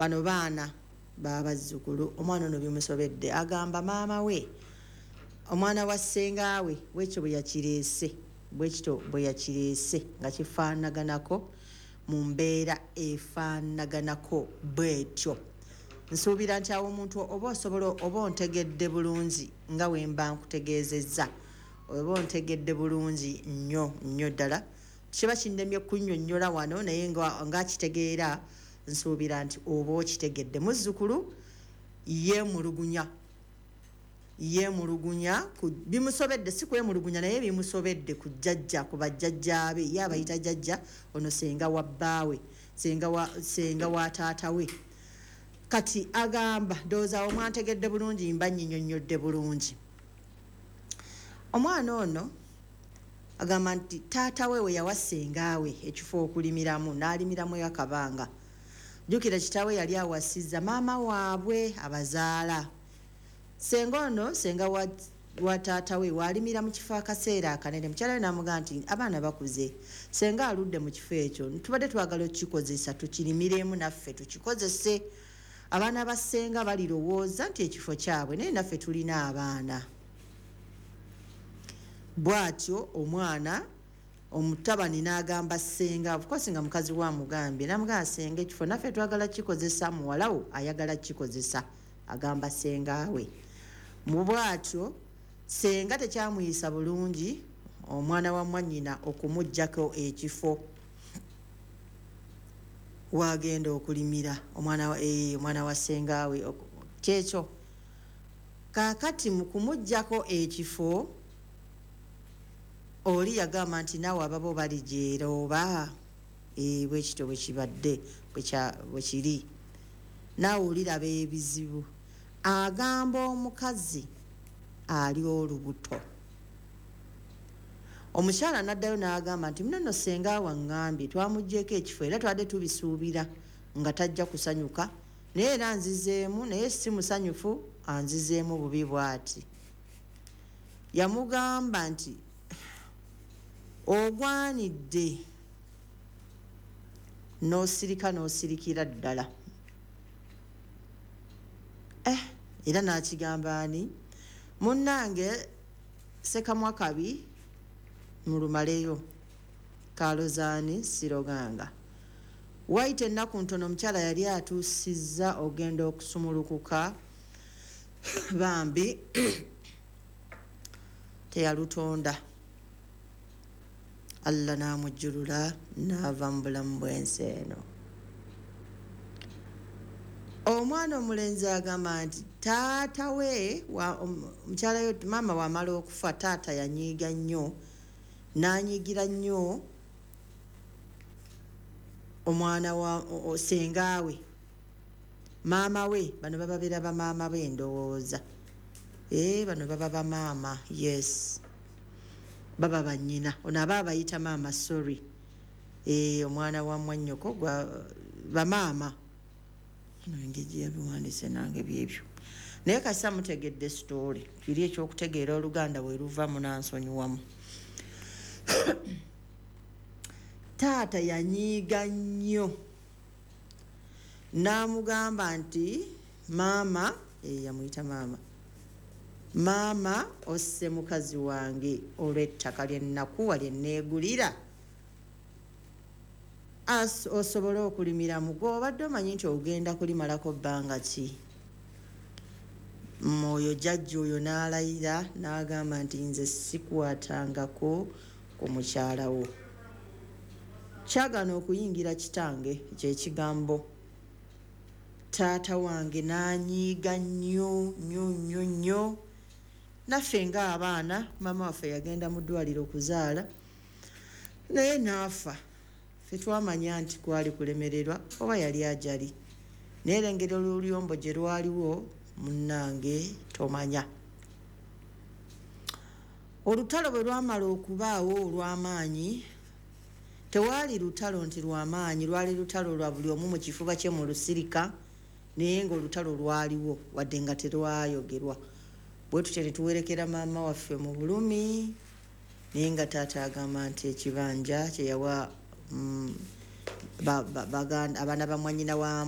Bano baana babazzukulu. Omwana ono bimusobedde, agamba maama we, omwana wa ssengaawe, bwekyo bwe yakireese, bwekito bwe yakireese nga kifaanaganako mu mbeera efaanaganako bwetyo. Nsuubira nti awo omuntu oba osobola oba ontegedde bulungi nga wemba nkutegeezezza, oba ontegedde bulungi nnyo nnyo ddala. Kiba kinnemye kunnyonnyola wano, naye ng'akitegeera, nsuubira nti oba okitegedde. Muzzukulu yeemulugunya, yeemulugunya, bimusobedde, si kwemulugunya naye bimusobedde ku jjajja, ku bajjajjaabe. Ye abayita jjajja. Ono senga wa bbaawe, senga wa taata we. Kati agamba, ndowooza awo mwantegedde bulungi, mba nnyinyonnyodde bulungi. Omwana ono agamba nti taata we we yawa sengaawe ekifo okulimiramu, n'alimiramu akabanga. Jjukira kitaawe yali awasizza maama waabwe abazaala. Senga ono, senga wa taata we, waalimira mu kifo akaseera akanene. Mukyala we n'amugamba nti abaana bakuze, senga aludde mu kifo ekyo, tubadde twagala okukikozesa, tukirimiremu naffe tukikozese. Abaana ba ssenga balirowooza nti ekifo kyabwe, naye naffe tulina abaana. Bw'atyo omwana omutabani n'agamba ssenga, of course nga mukazi wa mugambye, n'amugamba, "Senga, ekifo naffe twagala kikozesa, muwalawo ayagala kikozesa." Agamba ssenga we mu bw'atyo. Senga tekyamuyisa bulungi omwana wa mwannyina okumugjako ekifo wagenda okulimira omwana wa ssengawe. Kyekyo. Kaakati mu kumugjako ekifo, oli yagamba nti naawe ababo balijeera oba bwekityo bwe kibadde, bwe kiri, naawe oliraba ebizibu. Agamba omukazi ali olubuto. Omukyala n'addayo n'agamba nti munono senga waŋŋambye twamugyeko ekifo, era twadde tubisuubira nga tajja kusanyuka, naye era nzizeemu, naye si musanyufu, anzizeemu bubi bw'ati. Yamugamba nti ogwanidde n'osirika, n'osirikira ddala. Era n'akigamba ani, munnange sekamwa kabi mulumaleyo kalozaani siroganga. Wayita ennaku ntono, omukyala yali atuusizza ogenda okusumulukuka, bambi teyalutonda, Allah n'amujjulula n'ava mu bulamu bw'ensi eno. Omwana omulenzi agamba nti taata we, omukyala we, maama wamala okufa, taata yanyiiga nnyo, n'anyiigira nnyo omwana wa sengaawe, maama we. Bano bababeera bamaama be, ndowooza. Bano baba bamaama, yes, baba bannyina. Ono aba abayita maama, sorry. Omwana wa mwannyoko gwa bamaama. Engeri yabiwandiise nange byebyo, naye kasita mutegedde story. Kiri ekyokutegeera oluganda bwe luva, munansonyiwamu. Taata yanyiiga nnyo n'amugamba nti maama, yamuyita maama, "Maama, osse mukazi wange olw'ettaka lyennakuwa lyenneegulira osobole okulimiramu. Gwe obadde omanyi nti ogenda kulimalako bbanga ki?" Mwoyo jjajja oyo n'alayira n'agamba nti nze sikwatangako ku mukyala wo. Kyagaana okuyingira kitange kyekigambo. Taata wange n'anyiiga nnyo nnyo nnyo nnyo. Naffe ng'abaana, maama waffe yagenda mu ddwaliro okuzaala naye n'afa. Ffe twamanya nti kwali kulemererwa oba yali ajali, naye era engeri oluyombo gye lwaliwo, munnange, tomanya. Olutalo bwe lwamala okubaawo olw'amaanyi, tewaali lutalo nti lwamaanyi, lwali lutalo lwa buli omu mu kifuba kye mu lusirika, naye ngaolutalo lwaliwo wadde nga terwayogerwa. Bwe tutyo ne tuwerekera maama waffe mu bulumi, naye nga taata agamba nti ekibanja kyeyawa abaana ba mwanyina wa